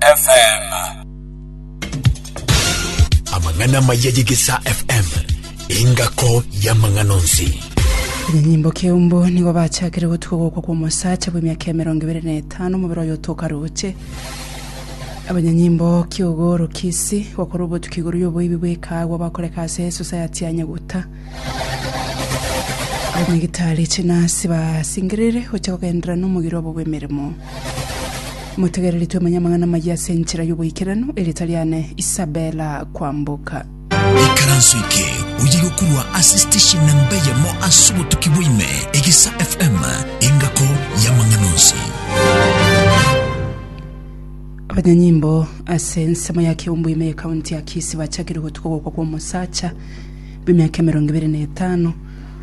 FM. Amang'ana amaya y'Egesaa FM, engako y'amang'ana onsi. Abanyanyimbo Keumbu nigo bachakire gotuka ogokwa kw'omosacha bw'emiaka 25 omobere oye otoka roche. Abanyanyimbo Kiogoro Kisii gokora obotuki igoro y'oboibi bw'ekaagwa bakoreka ase esosayati ya Nyaguta. Abanyagitari chinasi basingereire gocha kogenderera nomogiro obo bw'emeremo. Motegereri twemanye amang'ana amayia ase enchera y'oboikeranu, erieta riane Isabella Kwamboka. Ikaranso eke oye gokurwa ase station namba eyemo ase obotuki bwa ime, Egesa FM, engako y'amang'ana onsi. Abanyanyimbo ase ensemo ya Kiumbu ime y'ekaunti ya Kisii bachakire gotuka ogokwa kw'omosacha bw'emiaka 25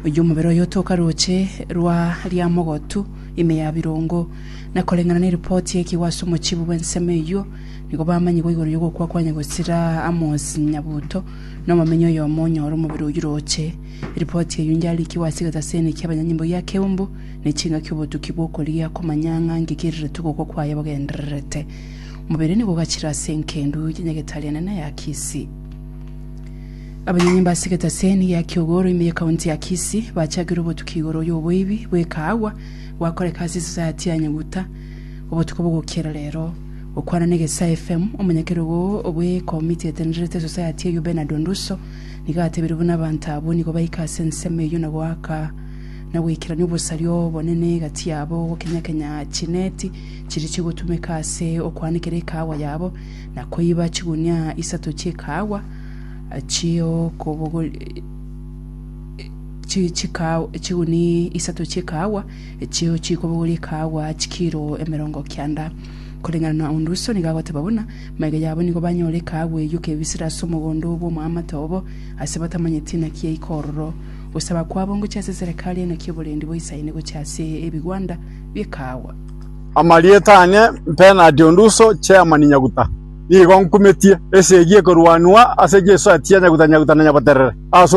oyio omobere oye otoka roche rwa Riamogotu ime ya Birongo. Na koreng'ana neripoti y'ekigwa ase omochibu bw'ensemo eyio, nigo bamanyigwe igoro y'ogokwa kwa nyagosira Amos Nyabuto, na omomenyi oyomo onyore omobere oyio roche. Eripoti eyio njarikigwe ase egetaseni ki'abanyanyimbo gia Keumbu, ne chingaki obotuki bw'okorigia komanya ng'a nki keriretwe ogokwa kwaye bogendererete. Omobere nigo ogachire ase enkendu ya nyagetari enene ya Kisii. Abanyanyimbo ase egetaseni gia Kiogoro ime y'ekaunti ya Kisii bachakire obotuki igoro y'oboibi bw'ekaagwa Gwakoreka ase esosayati ya Nyaguta obotuko bogokiera rero. Gokwana na Egesae FM, omonyakerogo bw'ekomiti etenenerete esosayati eyio Bernard Onduso nigo atebirie buna abanto abwo nigo baika ase ensemo eyio na goaka na goikerania obosaria obonene egati yabo gokenyakenya chineti chiria chigotumeka ase okoanekera ekaagwa yabo na koiba chigunia isato chi'ekaagwa chi'okobogori chiguni isato chi'ekaagwa, echio chikobogoria ekaagwa chikiro 90. Koreng'ana na Onduso nigo agoteba buna, magega yabo nigo banyora ekaagwa eyio kebisire ase omogondo bw'omoamate obo, ase batamanyeti naki yaika ororo. Gosaba kwabo ngochia ase eserekari enaki oborendi boisaine gochia ase ebigwanda bi'ekaagwa. Amarieta ane Bernard Onduso, Chairman Nyaguta. Nigo nkumetie esegi ekorwanwa ase Jesu atia Nyaguta Nyaguta na Nyaboterere ase.